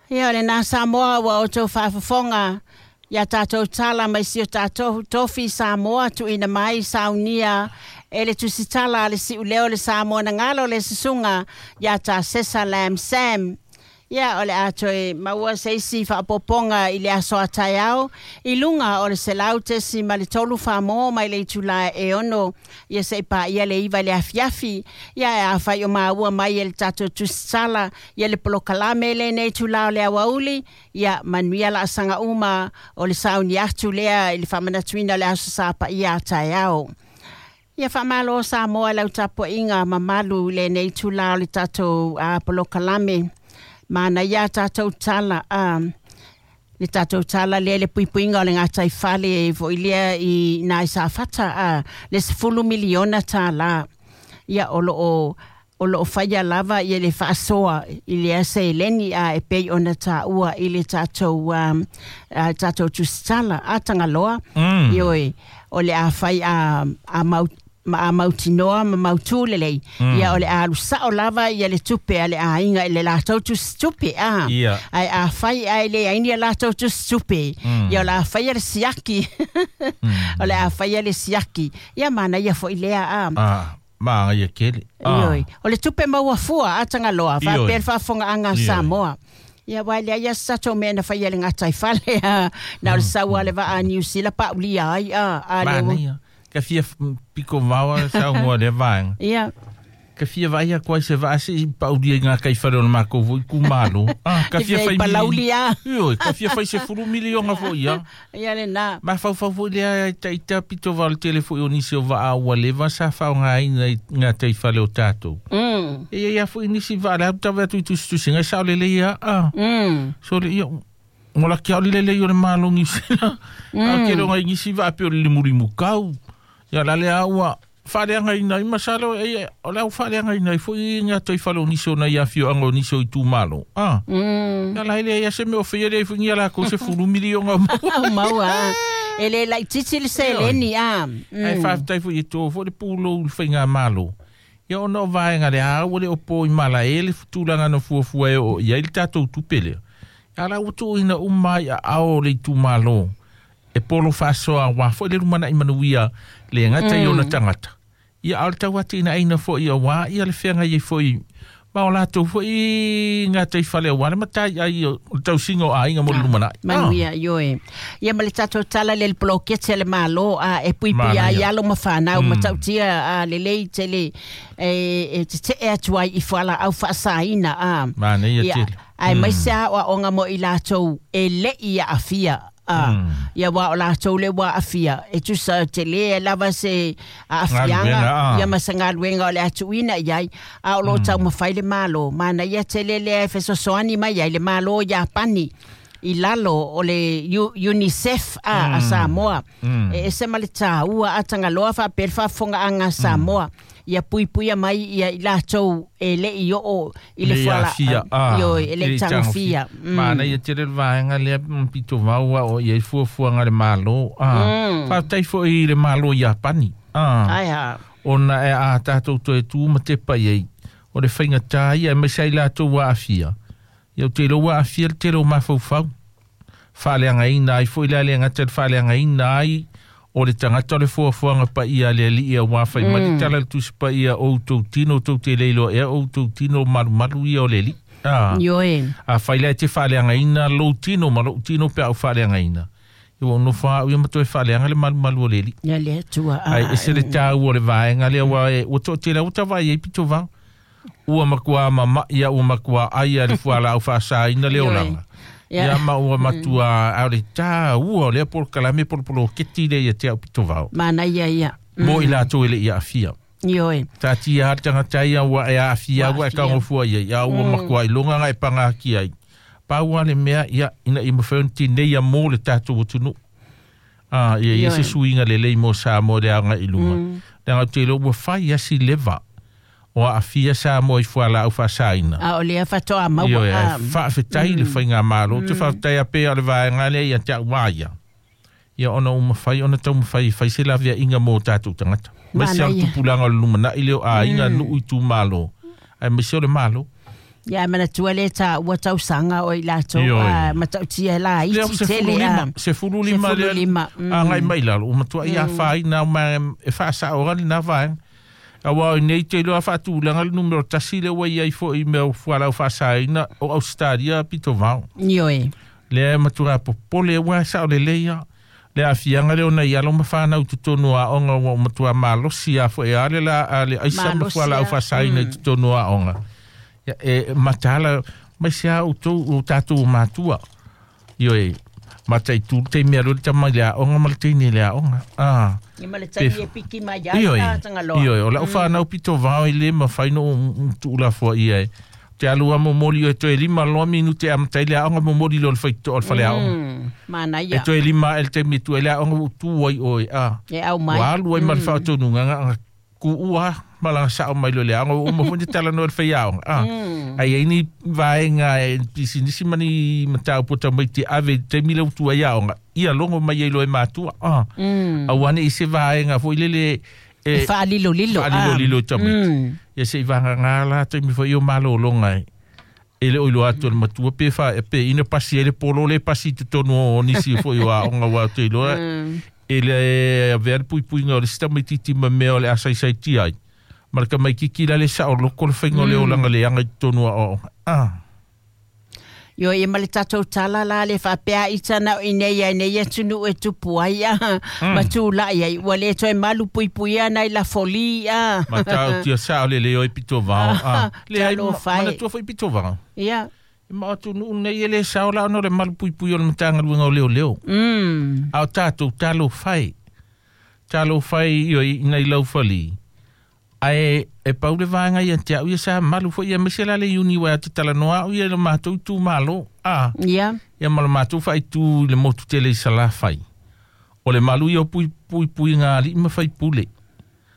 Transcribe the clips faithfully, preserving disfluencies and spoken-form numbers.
Ia o lena Samoa ua outou faafofoga ia tatou tala mai si o tatou tofi Samoa tuuina mai saunia e le tusitala a le siuleo le Samoa na galo le susuga ia Tasesa Lam Sam. Ia o le a toe maua se isi faapopoga i le aso a taeao i luga o le selau tesi ma le tolu famo mai le itula e ono ia se i paia le iva le afiafi. Ia e afai o maua mai e le tatou tusitala ia le polokalame lenei itula o le aoauli. Ia manuia laasaga uma o le sauni atu lea i le faamanatuina o le aso sa paia a taeao. Ia faamalo Samoa i lau tapuaiga mamalu i lenei itula o le tatou uh, polokalame. Mana ia tatou tala a le tatou tala lea le puipuiga o le gataifale foi lea i nai Safata a le sefulu miliona tālā. Ia o loo o loo faia lava ia le faasoa i lea seleni a e pei ona taua i le tatou um, a, tatou tusitala a Tagaloa. Mm. Ioe o le a fai a, a mau ma a mautinoa ma mautū lelei. Mm. Ia o le alu sao lava ia le tupe a le aiga i le latou tusitupe a. Ia. Ai a fai ai le aini a latou tusitupe. Mm. Ia o le a fai a le siaki. Mm. O le a fai a le siaki. Ia mana ia foi lea a. Ah, ma ia kele. Ah. Ioi. O le tupe maua fua a Tagaloa. Ioi. Faapea le faafogaaga a Ioi. Samoa. Ia wai lea ia sa tatou mea na fai a le gataifale a. Na o le sau a le vaa a New Zealand paulia ai a. A le Mana ia. Ka fia f- piko vaoa sa ngoa le vaenga. Ia. Ka fia vai a koa se vaa se i paulia i ngā kaiwhare o le mākou foi ku malo. Ah, ka fia Te fai palauli a. Ioi, ka fia fai se fulu milionga foi ia. Ia le na. Ma whau foi lea i ta i ta pito vao le tele foi o nisi o vaa ua leva sa whao ngā ina i ngā taiwhare o tātou. Mm. E ia ia foi nisi vaa le au tawe atu i tusitusi ngai sao lele ia. Ah. Mm. So le ia, ngola kia oli lele i o le malongi sila. Mm. A ke ronga i nisi vaa pe o le limurimu kau. Ia la le aua whareanga ina i masalo e o le au whareanga ina i foi ngā taiwhare o nisi o na ia whio anga o nisi o i tūmalo. Ah. Mm. Ia la hele ia se mea o whia lea i foi ngia la ko se fulu milionga o maua. Au maua. E le laititi le seleni a. Ai whaftai foi i tō foi le pūlo u le whainga malo. Ia ona o vaenga le au le o pō i mala e le futulanga no fuafua e o ia i le tātou tupele. Ia la utu ina umai a ao le tūmalo. E polo whasoa wā foi le rumana i manuia le ngata i ona tangata. Ia ao le tau ati ina aina foi ia wā ia le whenga i foi ma o lātou foi ngā taiwhale o wā le matai ai o le tausinga o āinga mo le lumana. Manuia, ioe. Ia ma le tatou tala le le polokete le malo a e puipui Mana a ia. i alo ma whanau Mm. ma tautia a lelei tele e, e te te atu ai i whala au whaasaina a. Mana ia Ia, tele. ai mai se a onga mo i lātou e le ia afia. A, Mm. ia wā o lātou le wā afia. E tusa te le e lava se a afianga. Galuega, a. Ia ma sa galuega o le atuina iai. A o lo tau mawhai le malo. Mana ia te le lea e fesoasoani mai ai le malo Iapani. I lalo o le U- UNICEF a, a Samoa. Mm. E ese ma le tāua a Tagaloa faapea le faafogaaga a Samoa. Ia puipuia mai ia i lātou e le i oo i le Le fuala. afia, ah, Ioi, e le le tagofia. tagofia. Mana ia tele le vaenga lea mm, pito vaua o ia i fuafuaga le malo. Ah. Mm. Whātai foi i le malo Iapani. Ah. Ai ha. Ona e a tātou toe tū ma te pai ai. O le whainga tā ia e mai lātou wā afia. Ia o te lo wā afia le te lo mawhauwhau. Whaleanga ina ai foi le ale ngata le whaleanga ina ai o le tangata o le fuafuaga paia le alii auā Mm. faimali tala le tusi paia o outou tino tou te leiloa ea outou tino malumalu ia o le alii. Ah. Ioe. A whai lea te whaaleangaina lou tino ma lou tino pe au whaaleangaina. Ia ua nofo au ia ma toe whaaleanga le malumalu o le alii. Ia le atua. Ai e se le tāua o le vaenga lea ua e ua toatele ua tavai ai pito vao. Ua makua mama'i ia ua makua ai a le fualaau faasaina le Ioe. olaga. Ia. Ia ma ua matua au le tāua o lea polokalame polopoloketi lea ia te au pito vao. Mana ia ia. Mo i latou e le ia afia. Ioe. Tā tia ha tangata ia ua e afia Ua ua e afia. kaungofua ia ia ua makua i longa nga e pangaki ai. Paua le mea ia ina i mawhai ona tinei ia mō le tātou atunu. Ah, ia ia Ioe. se suiga lelei mo Samoa le aoga i luma. Leaga ou te iloa ua fai asi leva o aafia Samoa i fualaau faasaina. A o lea whatoa maua. Ioe, a. ai faafetai le faigamalo. Te faafetai a pea o le vaega lea ia te au maia. Ia ona ua mafai ona taumafai e fai se laveaiga mo tatou tagata. Maise o le Manaia. tupulaga o le lumanai lea o aiga nuu i tumalo. Aemaise o le malo. Ia manatua le taua tausaga o i latou a matautia la iti tele a sefulu lima le agai mai lalo ua matuai afaina ma e faasao lena vaega auā nei te iloa faatulaga le numero tasi lea ua iai foʻi mea fualau faasaina o Ausetalia pitovao. Ioe. Lea e matuā popole ua sao lelei a le aafiaga lea ona i alo ma fanau i totonu o aoga ua matuā malosi a foʻi a le la a le aisa ma fualaau faasaina i totonu o aoga. Ia e mataala mai se a outou o tatou matua. Ioe. Mataitu le taimi alu le tama i le aoga ma le teine i le aoga. Ah. Ia ma le taimi e piki mai ai la tagaloa. Ioe, o lau whanau pito vao i le mawhai no tuulafoa ia e. Te alua momoli o e toe lima loa minute a matai le aoga momoli lo le whaito o le whale aoga. Mana ia. E toe lima el taimi tu e le aoga u tu ai oe. Ah. E au mai. Wa alu ai ma le whaotonu nganga ku ua malanga sao mai lo le aoga o uma tala no le whai aoga. Ah. Ai ai ni vaenga e pisinisi mani matau pota mai te ave te mila utu ai aoga. Ia longo mai ai lo e matua. Ah. Au ane i se vaenga fo i lele e whaalilo lilo. Whaalilo lilo tamiti. Ia se i vanga ngā la taimi fo i o malo longa e. E le oilo atu le matua pe wha e pe ina pasi e le polo le pasi te tonu o nisi fo i o aoga wa te iloa. E le avea le puipuiga o le sita maititi ma mea o le asaisai ti ai. Ma le kamaikiki la le sao loko le whainga o le olanga le anga i tonu a o. Ah. Io e ma le tatou tala la le faapea itana o inei ai nei atunuu e tupu ai a ma tulaʻi ai ua lē toe malu puipuia nai lafoli a ma tautia sao le leo i pito vao a le ai manatua foi pito vao. Ia e ma atunuu nei e lē sao la ona o le malu puipui o le matagaluega o leoleo a o tatou talofai talofai io inai laufali ae e pau le vaega ia te au ia sa malu foi ia maise la le uni wa te talanoa au ia le matou itumalo a ia ia ma le matou faaitu i le motu tele i Salafai o le malu ia o puipuiga alii ma faipule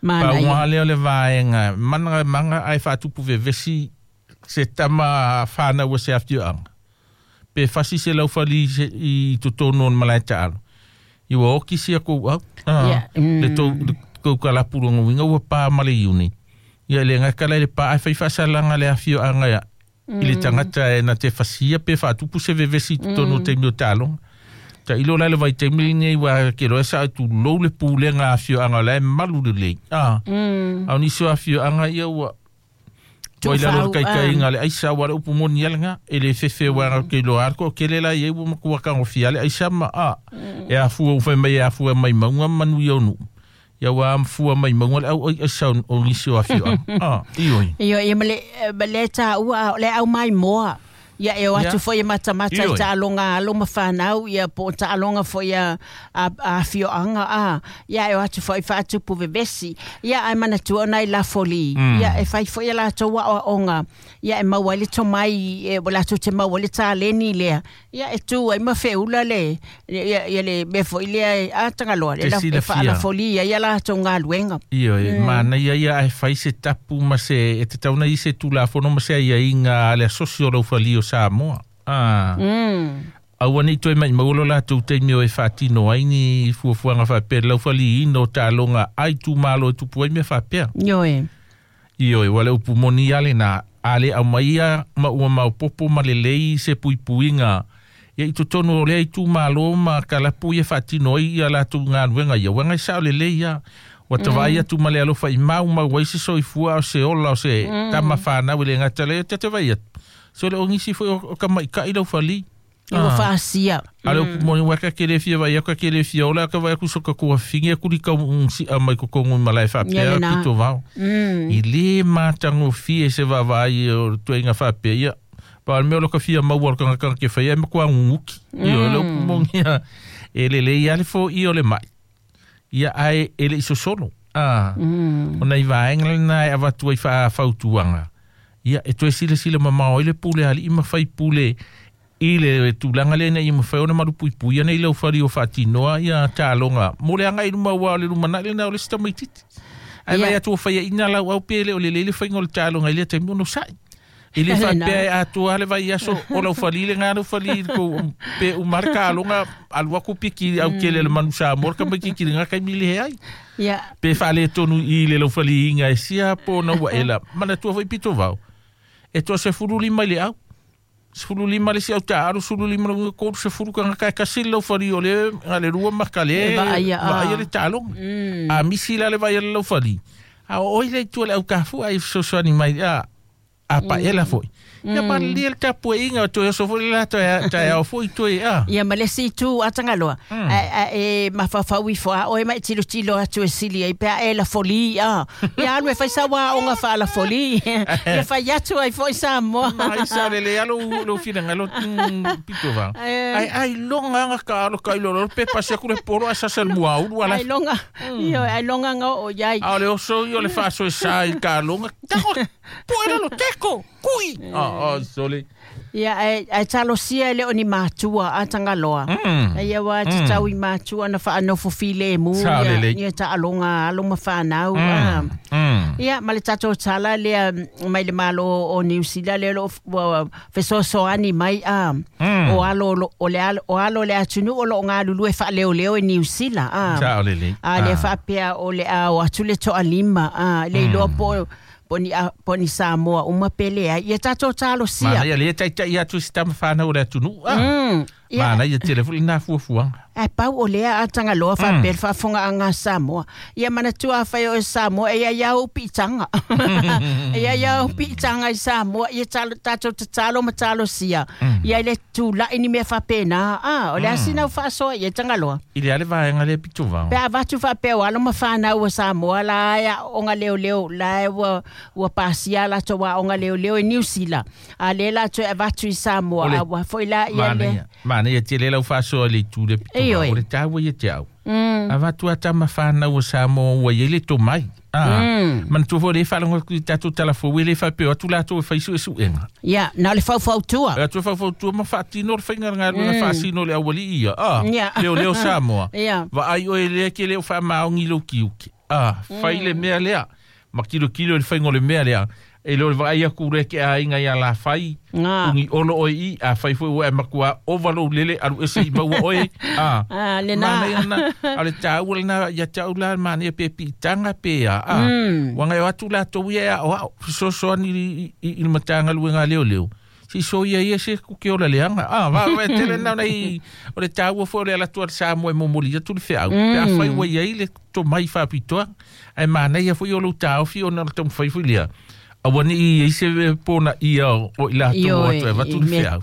pauga lea o le vaega mana manga ae faatupu vevesi se tama fanau a se afioaga pe fasi se laufali i totonu o le malae taalo ia ua oki sia kou au le tou kou kalapuloga uiga ua pā ma le iuni ia le gakala i le pā ae faifaasalaga le afioaga ia i le tagata e na te fasia pe faatupu se vevesi i totonu o taimi o taaloga tailo la le vaitaimi lenei ua keloa sa tulou le pulega afioaga o la e malu lelei a a o nisi o afioaga ia ua ua i lalo le kaikaiga le aisa ua le upu moni alaga e le fefe uaga ke iloa ale ko kele la iai ua makua kagofia le aisa ma a e afua ua fai mai e afua mai mauga ma manuia o nuu ia ua amfua mai maunga le au ai aisa o nisi o afioaga. Ah, ioi. Io ia ma le ma le taua o le au mai moa. Ia e o atu foi e matamata i taaloga alo ma fanau ia po o taaloga foi a afioaga a ia e o atu foi faatupu vevesi ia ae manatua ona i lafoli ia e fai foi ia latou aoaoga ia e maua ai le tomai e ua latou te maua le taleni lea ia e tu ai ma feula le ia ia le mea foi lea a tagaloa e faalafolia ia latou galuega. Ioe manaia ia ae fai se tapu ma se e tatauna i se tulafono ma se aiaiga a le asosi o laufali o Samoa. Ah. Mm. Aua nei toe mai maulo latou taimi o e faatino ai ni fuafuaga faapea le laufaliina o taaloga ai itumalo e tupu ai mea faapea. Ioe. Ioe, ua le upu moni a lenā a le aumaia ma ua maopopo ma lelei se puipuiga ia i totonu o lea itumalo ma kalapu ia faatino ai ia latou galuega ia uaga e sao lelei ia ua tavaai atu ma le alofa i maumau ai se soifua o se ola o se tama fanau i le gata lea te vai atu so le ongisi foi o kamaikaʻi laufali. Ua faasia. A le upu moni ua ka ke le fia vai ka ke le fia ola ka vai aku so ka kua fingi aku li kau si'a mai kokogu i malae faapea pito vao. I lē matagofie se vaavaai o le tuaiga faapea ia pa o le mea o lo ka fia maua o le kagakaga ke faia e makuaguguki. Ioe le upu moni ia e lelei a le foʻi o le maʻi ia ae e leʻi sosolo. Ah. Ona i vaega lenā e avatu ai faafautuaga ia e toe silasila mamao ai le pule alii ma faipule i le tulaga lea ina ia mafai ona malupuipui ana i laufali o faatinoa ia taaloga mo le agai luma ua o le lumanai lenā o le isi tamaititi ae vai atu o faiaʻina lauau pe le o lelei le faiga o le taaloga i lea taimi ono saʻi i le faapea e atoa le vaiaso o laufali le gā laufali pe uma le kaaloga alu aku piki au kele le manu Samoa le kamaititi i lena taimi leai pe faaletonu i le laufaliiga e sia po ona ua ela manatua foi pito vao E toa sefulu lima i le au. Sefulu lima le si au taalu, sefulu lima le kolu, sefulu ka ngaka e kasi lau fali o le ngale rua maka le vaai le taaloga. A misi la le vaai le lau fali. A o oi le itu le au kafu ai fesoasoani mai a a paela foi. Ia palilia le tapuaiga o toe oso foi le la taeao foi toe a. Ia ma le isi itu a Tagaloa. A e mafaufau ifo a oe mai tilotilo atu e sili ai pe a e lafoli a. Ia alu e fai sau aoga faalafoli. Ia fai atu ai foi Samoa. Mai sa le le alo lo finagalo pito va. Ai ai longa anga ka alo ka ilo lo pe pasi aku le polo a sasa le muaulu ala. Ai longa. Ia ai longa nga o iai. A o le oso ia o le faaso e sa i ka longa. Tango poe lo teko kui. Ah oh, sole. Ia e e talosia le o ni matua a Tagaloa. Ia wa tatau i matua na whaanofo file mu ia ia taaloga alo ma whanau. Ia ma le tatou tala lea mai le malo o New Zealand le lo fesoasoani mai a o alo o le alo o alo le atunuu o loo galulue faaleoleo e New Zealand a. A le faapea o le a o atu le toalima a le iloa po poni a poni Samoa uma pele ai ia tatou talosia. Mana ia le taitai atu si tama whanau o le atunuu. Mana ia tele fuli nā fuafuaga. Ai pau o lea a Tagaloa faapea le faafogaaga a Samoa. Ia manatua afai o e Samoa e ia ia ou piitaga. E ia ia ou piitaga i Samoa ia tatou tatalo ma talosia. Ia i le tula'i ni mea faapena. A o le asina o faasoa ia Tagaloa. I le ale vaega le pito vao. Pe avatu faapea o alo ma whanau o Samoa la e aoga leoleo la e ua ua pasia latou aoga leoleo e New Zealand. A le latou e avatu i Samoa a ua foi la ia le. Mana ia tele lau faasoa le itu le pito vao. O le tāua ia te au. Avatu a tama whanau o Samoa ua ia le tomai. Ah, manatua foi le faalogo atu i tatou talafou e le faapea atu latou e fai suesuega. Ia, na o le faufautua. Atu faufautua ma faatino le faiga galuega faasino le aualii ia. Ah, leoleo Samoa. Vaai oe lea ke le o faamaogi lou kiuki. Ah, fai le mea lea. Ma kilokilo le faiga o le mea lea. E leo le vaai aku le ke aiga ia la fai. Ungi olo oe i a fai foi ua e makua ova lou lele alu ese i maua oe. Ah, lena. Mana a le tāua lena ia tau la manaia pe piitaga pe a. Ah, ua gaio atu latou ia e aoao fesoasoani i le matagaluega leoleo. Si so ia ia se kuke ola leaga. Ah, va va tele na nei o le tāua foi o le ala atu a le Samoa e momoli atu le feau. Pe afai ua iai le tomai faapitoa. Ae manaia foi o lou taofi ona o le taumafai foi lea. Aua ni i se pona ia o i latou atu e vatu le feau.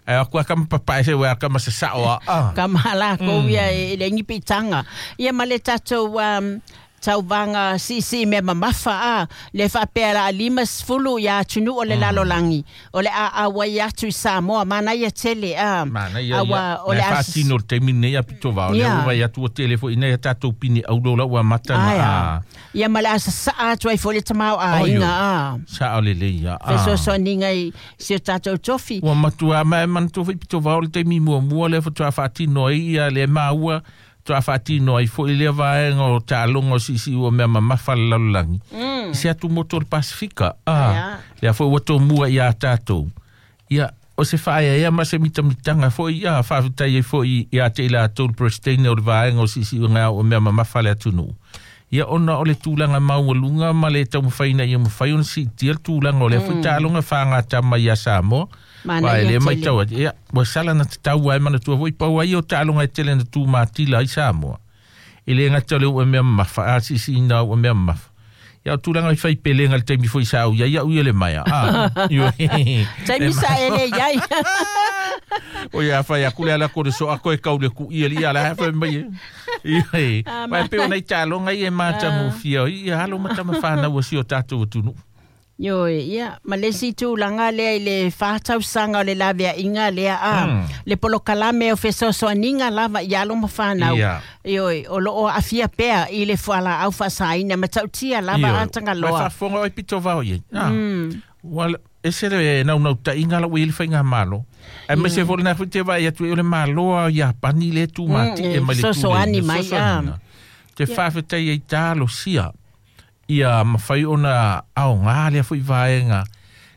Ai aku aka papae se ua aka masa sao a. Ka mahala ko ia e le ngipi tanga. Ia ma le tatou um, tauvaga siisii mea mamafa a le faapea la lima sefulu ia atunuu o le lalolagi o le aauai atu i Samoa manaia tele a. Manaia ia o le faatino le taimi lenei a pito vao lea ua vai atu ua tele foi ina ia tatou pine aulo la ua amata na a. Ia ma le asasaa atu ai foi le tamaoaiga a. Sao lelei ia a. Fesoasoaniga i si o tatou tofi. Ua matua ma e manatua foi pito vao le taimi muamua lea faatoa faatino ai ia le maua toa faatino ai foi lea vaega o taaloga o siisii ua mea mamafa le lalolagi. I se atu motu o le Pasifika. Ah, lea foi ua tomua ia tatou. Ia, o se faaeaea ma se mitamitaga foi ia faafetai ai foi ia te i latou le President o le vaega o siisiuga o mea mamafa le atunuu. Ia ona o le tulaga maualuga ma le taumafaina ia mafai ona siitia le tulaga o lea foi taaloga fagatama ia Samoa. Wa e le maitau atu. Ia, ua sala na tatau ai manatua foi pau ai o taaloga e tele na tumatila ai Samoa. E le gata o le ua mea mamafa, a siisiina ua mea mamafa. Ia o tulaga i fai pelega le taimi foi sa au ia ia ui le maia. Ah, taimi sa ele iai. O ia fai aku le ala ko le so ako e kau le ku ia li ala fa mai. Ia. Mai pe ona i taaloga ia e matagofie ia alo ma tama whanau o si o tatou atunuu. Ioe, ia, ma le isi tulaga lea i le fa tausaga o le laveaiga lea a. Le polokalame o fesoasoaniga lava i alo ma whanau. Ioe, o loo aafia pea i le fualaau faasaina ma tautia lava a Tagaloa. Mai faafofoga oe pito vao iai. Ua ese le naunautai la ua i le faiga malo. Aemaise foi lena foi te vaai atu ai o le malo a Iapani le tumati'e mai le Fesoasoani mai a. Te faafetai ai talosia. Ia mafai ona aogā lea foi vaega.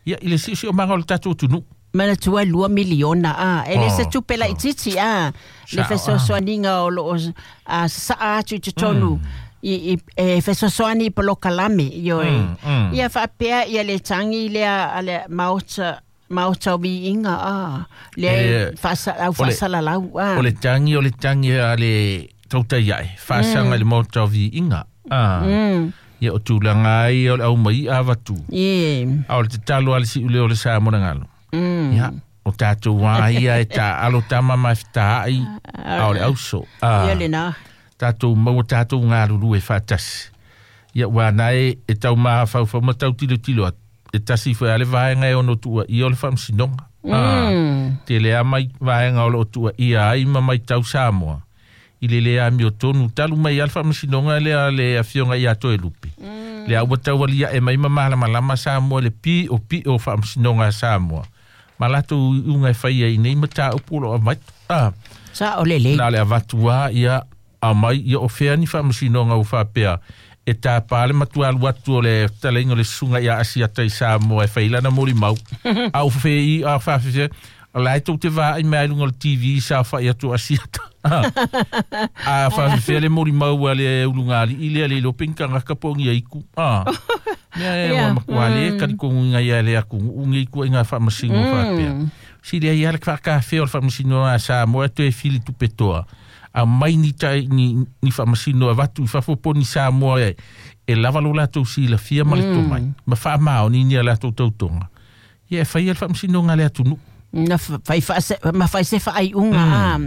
Ia i le siosiomaga o le tatou atunuu. Manatua lua miliona a. E le se tupe laitiiti a. Le fesoasoaniga o loo sasaa atu i totonu. i e fesoasoani i polokalame ioe. Mm, mm. Ia faapea ia le tagi lea a le maota maota o viiga a lea Eh, e faasa- au o le- faasalalau a. O le tagi o le tagi a le tautai ae faasaga i le maota o viiga a. Mm. Ia o tulaga ai o le aumai avatu. Ie. A o le tatalo a le si'uleo o le Samoa na galo. Mm. Ia o tatou a ia e taalo tama ma e fetaai a o le auso Ia a lena. tatou maua tatou galulue faatasi. Ia ua nae e tau mafaufau ma tau tilotilo atu e tasi foi a le vaega e ono tuuaia o le faamasinoga. A Mm. tele a mai vaega o loo tuuaia ai ma maitau Samoa i le lē amiotonu talu mai a le faamasinoga lea le afioga ia Toelupe. Lea ua taualia'e mai ma malamalama Samoa le pi'o pi'o o faamasinoga a Samoa ma latou iuga e faia i nei mataupu o loo avatu a. Sa o lelei. Na le avatu a ia aumai ia o fea ni faamasinoga ua faapea e tapā le matualu atu o le fetalaiga o le susuga ia Asiata i Samoa e failana molimau a ua fefe'i a faafefea o la e tou te vaai mai ai luga o le T V sa fa'i atu o Asiata a faafefea le molimau a le ulugalii lea le iloa pe ni tagata po o ni aiku a mea e ua Ia. matua lē talitonuina ia le atunuu nei tuaiga faamasino faapea silia ia le faakafea o le faamasinoga a Samoa e toe fili tupetoa a mai ni tai ni ni faamasino avatu i fafo po ni Samoa e e lava lo latou silafia ma le tomai ma faamaoni ni a latou tautoga ia e faia le faamasinoga a le atunuu. Na fai faase ma fai se faaiuga a.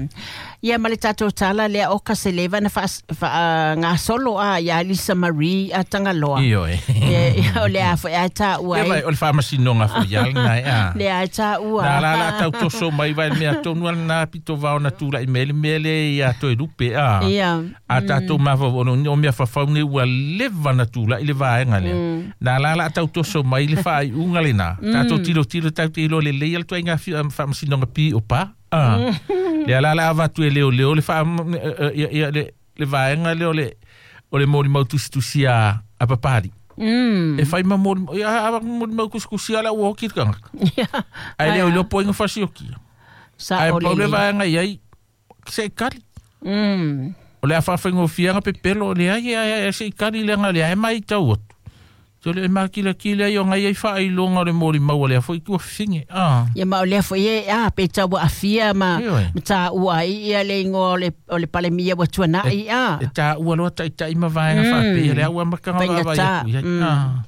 Ia ma le tatou tala lea o ka se leva na faagasolo a ia Lisa Marie a Tagaloa. Ioe. Ia o le a foi a taua Ia vai ai. o le faamasinoga foi ia lena e a. Lea a taua. Na la la tau toso mai vai le mea tonu ala na pito vao na tula'i mai le mea lea ia Toelupe a. Ia. A tatou mafaufau ona o mea fafau nei ua leva na tula'i le vaega lea. Na la la tau toso mai le faaiuga lenā. Tatou tilotilo tatou te iloa lelei a le tuaiga faamasinoga pi'o pa. A. Lea la la avatu e leoleo le faa ia ia le le vaega lea o le o le molimau tusitusi a a papali. Mm. E fai ma molimau ia a molimau kusikusi ala ua oki le tagata. Ia. Ae le o iloa po o ai na fasiokia. Sa Ae o pau le lelei. vaega iai se i kali. Mm. O le a faafaigōfiaga pepelo o leai e e se i kali leaga o lea e maitau atu. Te o le makilakila ai o ngai ai faailoga o le molimau a lea foi ua fifige a. Ia ma o lea foi e a pe tau aafia ma Ioe. ma taua ai ia le igoa o le o le Palemia ua tuana'i a. E taua loa taita'i ma vaega faapea lea ua amataga vaavaai Faigata. atu iai a.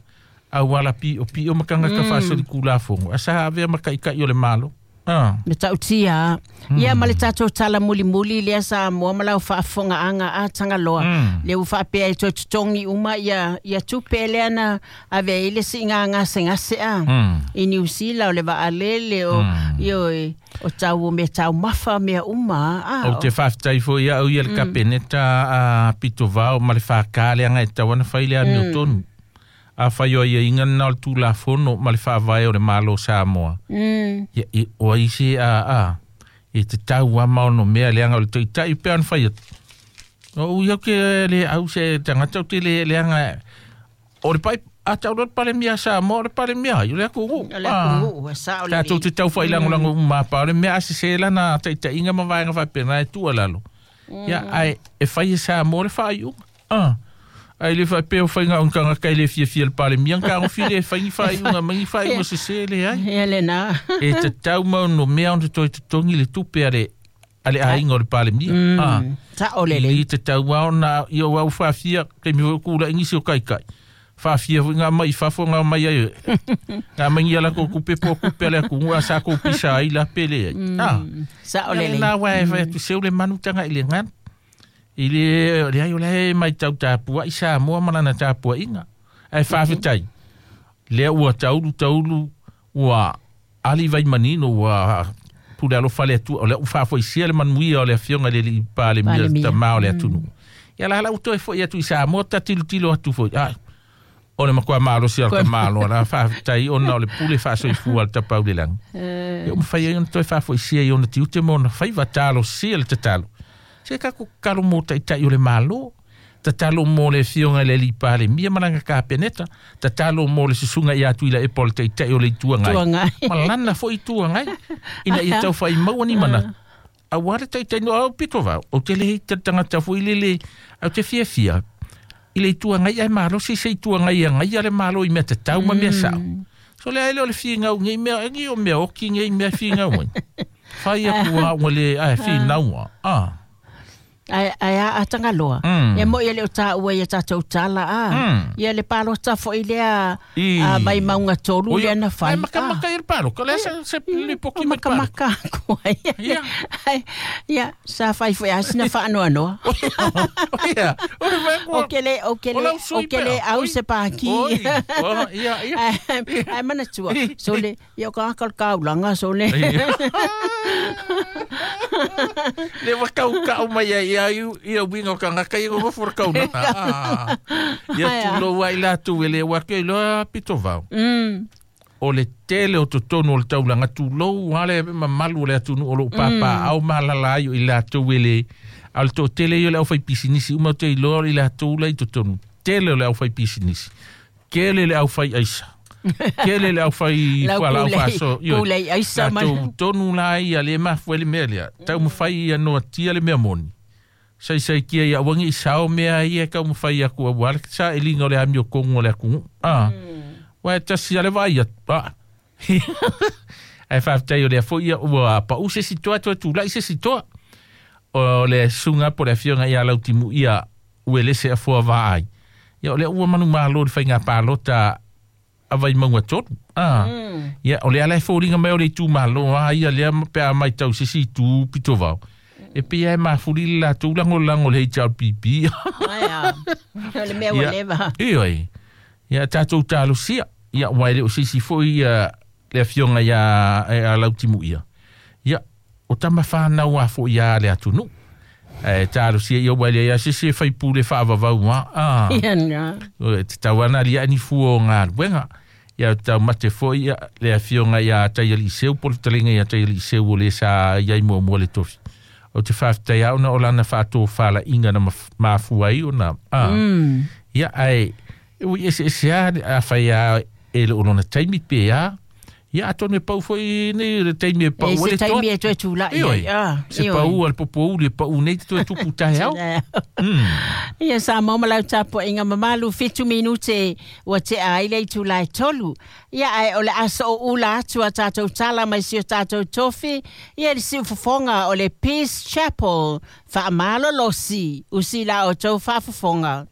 Auala pi'opi'o ma tagata faasolikulafogo a sa avea ma taʻitaʻi o le Malo a. Ma tautia. Ia ma le tatou tala mulimuli lea Samoa ma lau faafofogaaga a Tagaloa. Mm. Le ua faapea e toe totogi uma ia ia tupe lea na ave ai le siiga gasegase a. Mm. I New Zealand o le vaalele o ioe o tau o mea taumafa mea uma a. Ou te faafetai foi au ia le kapeneta a Pitovao ma le fakā leaga e tau ana fai le amiotonu. A fai o aiaiga lena o le Tulafono ma le faavae o le Malo o Samoa. Mm. Ia i o ai se a a e te tau ama ono mea leaga o le taʻitaʻi pea ona fai atu. O ui au ke le au se tagata ou te le leaga o le pai a tau loa le Palemia a Samoa o le Palemia ai o le atunuu. O le atunuu e sao Tatou lelei. te tau failagolago uma pa o le mea a sesē lana taʻitaʻiga ma vaega faapena e tuualalo. Ia ae e fai e Samoa le faaiuga. A. Ae le faapea o faiga o ni tagata e le fiafia i le Palemia na tagofi le e fai ni faaiuga mai ni faaiuga sesē leai. Ia lena. E tatau ma ono mea ona toe totogi le tupe a le a le aiga o le Palemia. A. Mm. Sao lelei. I tatau a ona ia ua faafia taimi foi o kulaʻi nisi o kaikai. Faafia foi ngā mai i fafo ngā mai ai. Ngā mai ni a latou kupe po o kupe a le atunuu a sa kou pisa ai la pele ai. A. Sao Ia lelei. lena uae fai atu seu le manu tagaʻi le ganu. I le leai o lae maitau tapuaʻi Samoa ma lana tapuaʻiga. Ae faafetai. Lea ua taulu taulu ua ali vai manino ua pule alofa le Atua o lea ua faafoisia le manuia o le afioga i le alii Palemia le Palemia. tamā o le atunuu. Ia la la ua toe foʻi atu i Samoa tatilotilo atu foi. Ai o le matua malosi o le tamāloa la faafetai ona o le pule faasoifua a le tapau le lagi. Ia ua mafai ai ona toe faafoisia i ona tiute ma ona faiva talosia le tatalo. Se tatou tatalo mo taʻitaʻi o le Malo, tatalo mo le afioga i le alii Palemia ma lana kapeneta, tatalo mo le susuga ia Tuilaepa o le taʻitaʻi o le Itu Agai. Tuagai. Ma lana foi Itu Agai ina ia taufaʻimaua ni manatu. Auā le taʻitaʻi no au pito vao, ou te le tagata foi lele, au te fiafia. I le itu agai ai malosi se itu agai agai le malo i mea tatau ma mea sa'o. So le ai lea o le figau nei mea e o mea oki nei mea figau ai. Fai aku a ua le ai finaua. Ah. Ai ai a tangaloa. Mm. Ia mo ia le o tāua ia tātou tala a. Mm. Ia le palota foi lea I. a mai maunga tolu lea na fai. Ai makamaka i le paloka. Le se se le poki mai paloka. Makamaka aku ai. Ia. Ai, ia, sa fai foi asina whaanoanoa. Ia. O le vai O ke le, o ke O le, lau o sui ke le pea. au Oi. se pāki. Oi. Oh, ia, ia. Ai, ai mana tua. So le, ia o ka akal kaulanga, so le. Ia. Le wakau kau mai ai ia ia winga o kangaka ia ngo for kau na. Ah. Ia Ai, ah. tu lo wai la tu ele wa ke lo pito vau. Mm. O le tele o totonu o le taulaga tulou ale mamalu o le atunuu o loo pāpā au malala ai o i latou e le a o le toatele ia o le aufaipisinisi uma o te iloa o i latou la i totonu tele o le aufaipisinisi kele le aufai aisa kele le aufai Lau fualaau kulei- faaso ioe. kulei aisa ma- Latou tonu la ia le mafua i le mea lea taumafai ia noatia le mea moni saisai kia ia uagi i sao mea ia e taumafai aku auā le saʻiliga o le amiokogu o le atunuu a Ua e tasi ale vai a ah. Ae faafetai o lea foi ia ua pa'u se isi toa toe tula'i se isi toa o le suga po le afioga ia lautimu ia ua lese afoa vaai ia o lea ua manumālō le faiga palota a vaimauga tolu ah. Ia o le ala e foliga mai o le itumālō a ia lea ma- pe a maitau se isi itū pitovao e pei e mafuli le latou lagolago le H R P P Ai, ah. O le mea ua Ia. leva. Ioe. Ia tātou talosia. Ia ua e le o se isi foi ia le afioga ia e a lautimu ia. Ia o tama whānau a fo ia le atunuu. E talosia ia ua le ia se se whaipule whaavavau ma. Ah. Ia na. O, te tauana lia ni fua o ngā luenga. Ia tau mate foi ia le afioga ia Taiali Seu, po le talinga ia Taiali Seu o le sa ia i mua mua le tofi. O te whawhitai au na o lana whaatō whala inga na maf- mafua ai o na. Ah. Mm. Ia ai e ui ese ese a a whai a e le olona taimi pe a. Ia atonu e pau foi nei le taimi e pau E o se le toa. taimi e toe tula'i Ioe. ai. Ah, Se ioe. pau al popo uli pau nei te toe tupu tae au. Mm. Ia sa mo malau tapo inga mamalu fitu minute ua te a ile i tūlai tolu. Ia ai o le aso o ula atu a tātou tala mai si o tātou tofi. Ia le siu fofonga o le Peace Chapel. Wha amalo losi. Usi la o tau whaafofonga.